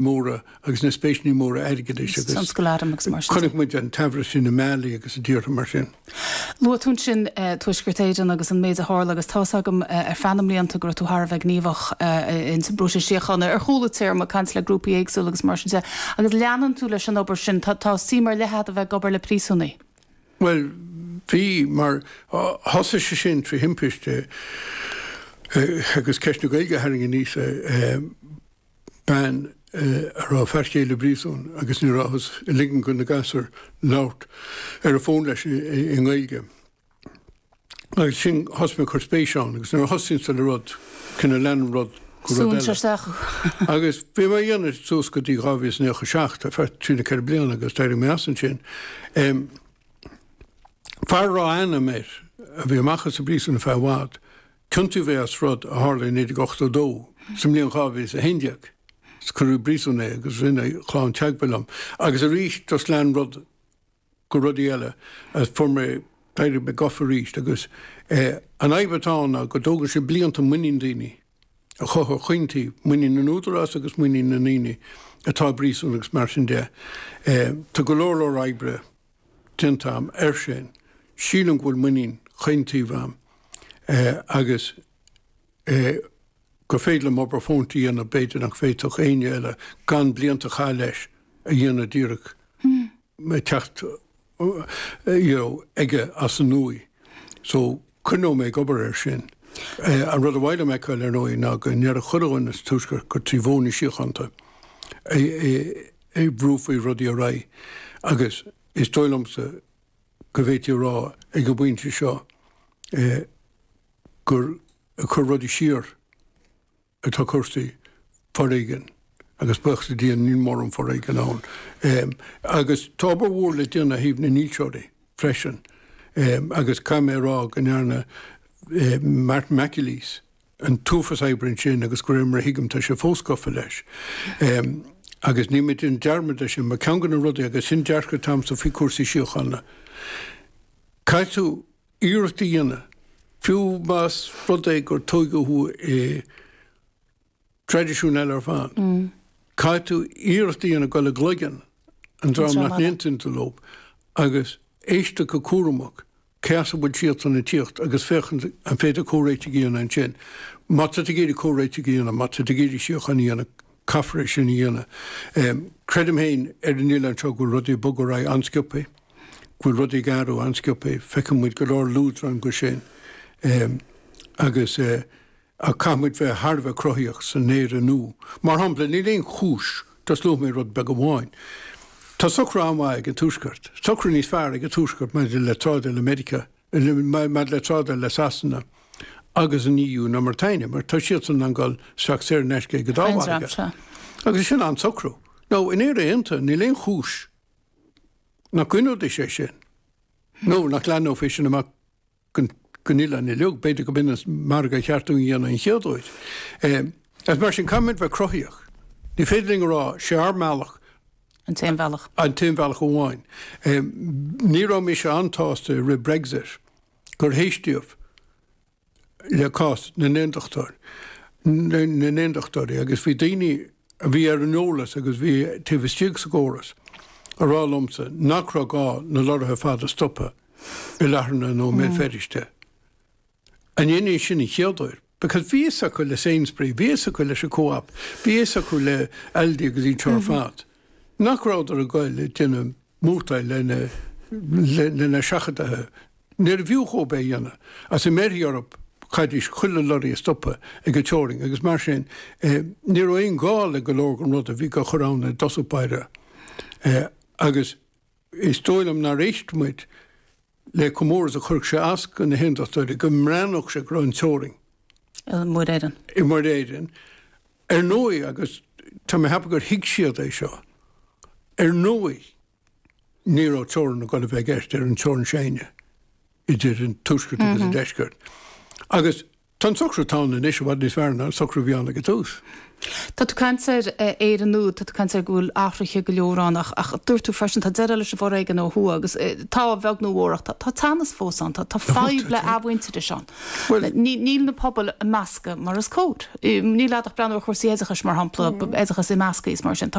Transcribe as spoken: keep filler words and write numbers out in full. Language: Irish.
móra agus na spéiseanna móra airgeadais agus Tionscal arm agus mar sin. Chonaic muid an t-aimhleas sin i Mali agus i dtíortha mar sin. Luaigh tú ansin Tuaisceart Éireann agus an méid a tharla agus tá's agam ar feadh na mblianta go raibh tú thar a bheith gníomhach in sa bpróiseas síochána ar chúla téarma caint le grúpaí éagsúla agus mar sin de. Agus leanann tú leis an obair sin tá tá suim ar leith agat a bheith ag obair le príosúnaigh. Well, bhí mar thosaigh sé sin trí thimpiste agus ceist na Gaeilge a tharraing aníos bean a raibh fear céile i bpríosún agus ní rabhthas ag ligean do na gasúir labhairt ar an bhfón leis i nGaeilge. Agus sin thosaigh mé ag cur spéis ann agus nuair a thosaíonn tú le rud cineál leanann rud go rud Súnn eile. isteach. Agus bhí mé a dhéanamh suas go dtí dhá mhíle is naocha seacht ar feadh trí nó ceithre bliana agus d'éirigh mé as ansin. Fear a raibh ainm air a bhí amach as an bpríosún ar feadh i bhfad, ciontaíodh é as rud a tharla i naoi déag ochtó dó, sa mbliain dhá mhíle is a haon déag. Is cuireadh i bpríosún é agus rinne a chlann teagmháil liom. Agus arís just lean rud go rudaí eile agus fuair mé, d'éirigh mé gafa arís agus an fhadhb atá ann ná go dtógann sé blianta muinín daoine a chothú chaon taobh, muinín na n-údarás agus muinín na ndaoine atá i bpríosún agus mar sin de. Tá go leor leor oibre déanta agam air sin. Sílim go bhfuil muinín chaon taobh agam agus gur féidir liom obair fónta a dhéanamh, b'fhéidir nach bhféadfadh éinne eile gan blianta a chaitheamh leis a dhéanamh díreach ag teacht you know aige as an nua. So coinneoidh mé ag obair air sin. An rud a ba mhaith liom a fheiceáil ar ndóigh ná go ndéarfadh chuile dhuine sa Tuaisceart gur trí mhodhanna síochánta a bhrúfaí rudaí ar aghaidh agus is dóigh liomsa go bhféadfaí a rá ag an bpointe seo gur ag cur rudaí siar atá cúrsaí foréigin agus buíochas le Dia níl mórán foréigin ann. Agus tá obair mhór le déanamh ó thaobh na ndílseoirí freisin agus caithfidh mé a rá go ndearna Martin McAleese an t-uafás oibre ansin agus de réir mar a thuigim tá sé fós gafa leis. Agus níl mé ag déanamh dearmad de sin mar ceann de na rudaí agus sin dearcadh atá agamsa faoi chúrsaí síochána, caithfidh tú iarracht a dhéanamh, fiú más rud é gur tóigeadh thú i dtraidisiún eile ar fad, caithfidh tú iarracht a dhéanamh dul i gcloigeann an dream nach n-aontaíonn tú leo agus éisteacht go cúramach cé as a bhfuil siadsan ag tíocht agus féachaint an féidir comhréitigh a dhéanamh ansin. Má tá tú ag iarraidh comhréitigh a dhéanamh, má tá tú ag iarraidh síocháin a dhéanamh, caithfear é sin a dhéanamh. Creidim féin ar an oileán seo go bhfuil rudaí ag bogadh ar aghaidh an-sciobtha, go bhfuil rudaí ag athrú an-sciobtha, feiceann muid go leor luaidreán de sin agus ach caithfidh muid bheith thar a bheith cruthaíoch san Éire nua. Mar shampla, níl aon chúis, just luafaidh mé rud beag amháin, tá socrú an-mhaith ag an Tuaisceart, socrú níos fearr ag an Tuaisceart maidir le trádáil le Meiriceá, maidir le trádáil le Sasana agus an EU ná mar atá againne, mar tá siadsan in ann dul isteach saor in aisce ag an dá mhargadh. Agus sin an-socrú. Now, in Éire Aontaithe, níl aon chúis nach gcoinneoidís é sin, nó nach leathnófaí sin amach go an oileán uilig, b'fhéidir go b'in an margadh a cheart dúinn a dhéanamh an chéad uair. Agus mar sin, caithfimid bheith cruthaíoch. Ní féidir linn a rá, sé ár mbealach. An t-aon bhealach. An t-aon bhealach amháin. Ní raibh mise an-tsásta i rith Brexit gur héistíodh le cás na n-aondachtóir, na n-aondachtóirí agus bhí daoine a bhí ar an eolas agus bhí taobh istigh sa gcóras a rá liomsa nach raibh gá na lorraithe fada a stopadh i Latharna nó i mBéal Feirste. An ndéanfaí sin an chéad uair? Because bhí fhios acu le Sainsbury, bhí fhios acu leis an Co-op, bhí fhios acu le Aldi agus iad seo ar fad nach rabhadar ag goil ag déanamh murtaill lena lena seachadaithe. Níorbh fhiú dhóibh é a dhéanamh. Agus dá mbéarfaí orthu chaithfidís chuile lorry a stopadh ag an teorainn agus mar sin ní raibh aon ghá le go leor den rud a bhí á chur ann i dtosach báire. Agus is dóigh liom nár éist muid le chomh mór is a chuirfeadh sé as do na hAondachtóirí go mbreathnódh sé go raibh an teorainn i Muir Éireann. i Muir Éireann. Ar ndóigh, agus tá mé ag ceapadh gur thuig siad é seo, ar ndóigh ní raibh teorainn ag dul a bheith i gceist ar an teorainn s'againne idir an Tuaisceart agus an Deisceart. Agus Tá an socrú atá ann anois i bhfad níos fearr ná an socrú a bhí ann ag an tús. Tá tú ag caint ar Éire nua, tá tú ag caint ar go bhfuil athruithe go leor ann ach ach dúirt tú freisin tá deireadh leis an bhforéigean ó thuaidh agus tá a bheag nó a mhór ach tá tá teannas fós ann, tá tá fadhb le athmhuintearas ann. Ní níl na pobail ag meascadh mar is cóir. Níl ach breathnú ar chúrsaí oideachais mar shampla, oideachas imeasctha is mar sin.